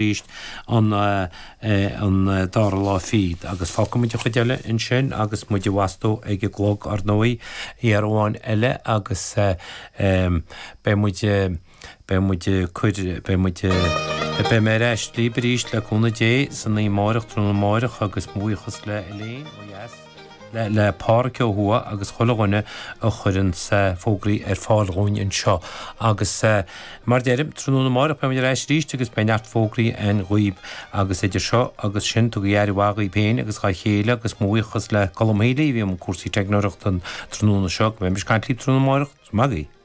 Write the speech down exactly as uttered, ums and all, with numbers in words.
arís an an dara lá fichead agus fágfaidh muid an chuid eile ansin agus muid ag fostú ag an gclog ar ndóigh uair amháin eile agus beidh muid beidh muid cur beidh muid beidh mé ar ais libh arís le cúnamh Dé san oíche amárach tráthnóna amárach agus mo bhuíochas le Elaine ó dheas le le Pádraic ó thuaidh agus chuile dhuine a chuireann fógraí ar fáil dhúinn anseo agus mar deirim tráthnóna amárach beidh muid ar ais arís agus beidh neart fógraí againn dhaoibh agus idir seo agus sin tugaigí aire mhaith dhaoibh féin agus dhá chéile agus mo bhuíochas le Colm Healy a bhí i mbun cúrsaí teicneoireachta an tráthnóna seo go mbeidh muid ag caint libh tráthnóna amárach. Maith agaibh.